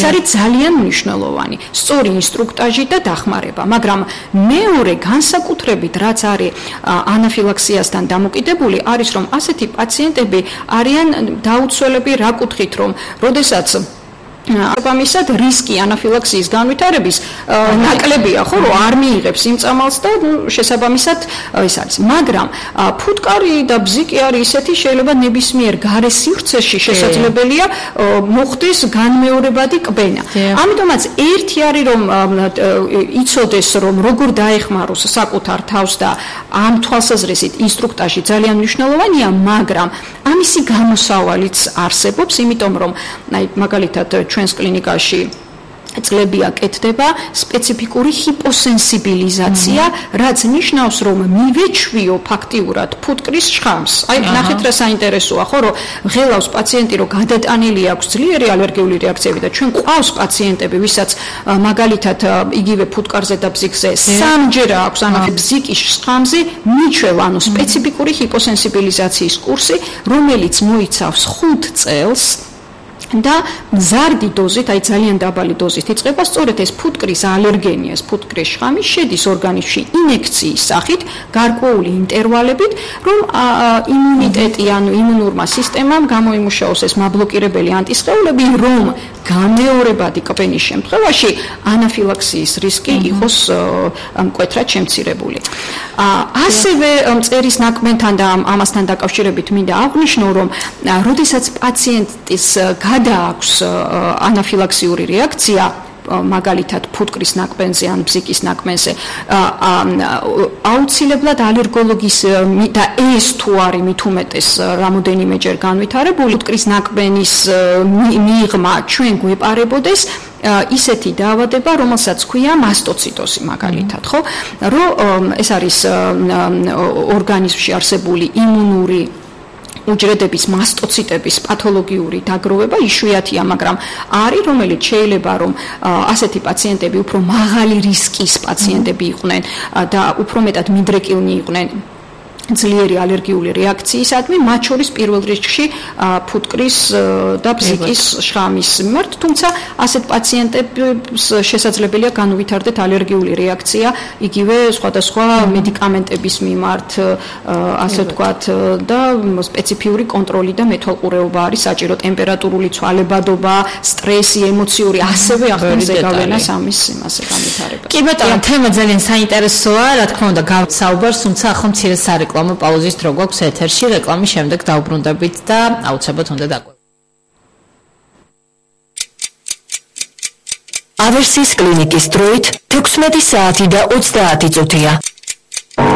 არის ძალიან მნიშვნელოვანი. სწორი ინსტრუქტაჟი და დახმარება, მაგრამ მეორე განსაკუთრებით რაც არის ანაფილაქსიასთან დამოკიდებული, არის რომ ასეთი პაციენტები არიან დაუცველები რა კუთხით, რომ როდესაც ამისად რისკი ანაფილაქსიის განვითარების ნაკლებია, ხო, რომ არ მიიღებს იმ წამალს და შესაბამისად ეს არის. მაგრამ ფუტკარი და ბზიკი არის ისეთი, შეიძლება ნებისმიერ გარე სივრცეში შესაძლებელია მოხდეს განმეორებადი კბენა. ამიტომაც ერთი არის რომ იცოდეს რომ როგორ დაეხმაროს საკუთარ თავს და ამ თვალსაზრისით ინსტრუქტაჟი ძალიან მნიშვნელოვანია, მაგრამ ამისი გამოსავალიც არსებობს, იმიტომ რომ აი მაგალითად ჩვენს კლინიკაში წლებია კეთდება სპეციფიკური ჰიპოსენსიბილიზაცია, რაც ნიშნავს, რომ მივეჩვიო ფაქტიურად ფუტკრის შხამს. აი, ნახეთ რა საინტერესოა, ხო, რომ ღელავს პაციენტი, რომ გადატანილი აქვს ძლიერი ალერგიული რეაქციები და ჩვენ ყავს პაციენტები, ვისაც მაგალითად იგივე ფუტკარზე და ბზიკზე სამჯერ აქვს ბზიკის შხამზე მიჩვევა, ანუ სპეციფიკური ჰიპოსენსიბილიზაციის კურსი, რომელიც მოიცავს 5 წელს და მზარდი დოზით, აი ძალიან დაბალი დოზით იწყება სწორედ ეს ფუტკრის ალერგენია, ეს ფუტკრის შხამი შედის ორგანიზმში ინექციის სახით, გარკვეული ინტერვალებით, რომ იმუნიტეტი, ანუ იმუნურმა სისტემამ გამოიმუშაოს ეს მაბლოკირებელი ანტისხეულები, რომ გამეორებადი კბენის შემთხვევაში ანაფილაქსიის რისკი იყოს მკვეთრად შემცირებული. ასევე მწერის ნაკბენთან და ამასთან დაკავშირებით მინდა აღვნიშნო, რომ როდესაც პაციენტის გადააქვს ანაფილაქსიური რეაქცია, მაგალითად ფუტკრის ნაკბენზე ან ბზიკის ნაკბენზე, აუცილებლად ალერგოლოგის და ეს თუ არის მით უმეტეს რამოდენიმეჯერ განვითარებული ფუტკრის ნაკბენის მიღმა ჩვენ გვეპარებოდეს ისეთი დაავადება, რომელსაც ქვია მასტოციტოზი მაგალითად, ხო? რომ ეს არის ორგანიზმში არსებული იმუნური უჯრედების მასტოციტების პათოლოგიური დაგროვება, იშვიათია, მაგრამ არის, რომელიც შეიძლება რომ ასეთი პაციენტები უფრო მაღალი რისკის პაციენტები იყვნენ და უფრო მეტად მიდრეკილნი იყვნენ ძლიერი ალერგიული რეაქციისადმი, მათ შორის პირველ რიგში ფუტკრის და ბზიკის შხამის მიმართ, თუმცა ასეთ პაციენტებს შესაძლებელია განუვითარდეთ ალერგიული რეაქცია იგივე სხვადასხვა მედიკამენტების მიმართ, ასე ვთქვათ, და სპეციფიური კონტროლი და მეთვალყურეობა არის საჭირო, ტემპერატურული ცვალებადობა, სტრესი, ემოციური, ასევე ახდენს ზეგავლენას ამის იმაზე განვითარებას. კი ბატონო, თემა ძალიან საინტერესოა, რა თქმა უნდა, გავსაუბარს, თუმცა ახლა მცირე სარეკლამო პაუზის დრო გვაქვს ეთერში, რეკლამის შემდეგ დავბრუნდებით და აუცილებლად უნდა დაგვეყო. ავერსის კლინიკის დროით 16 საათი და 30 წუთია.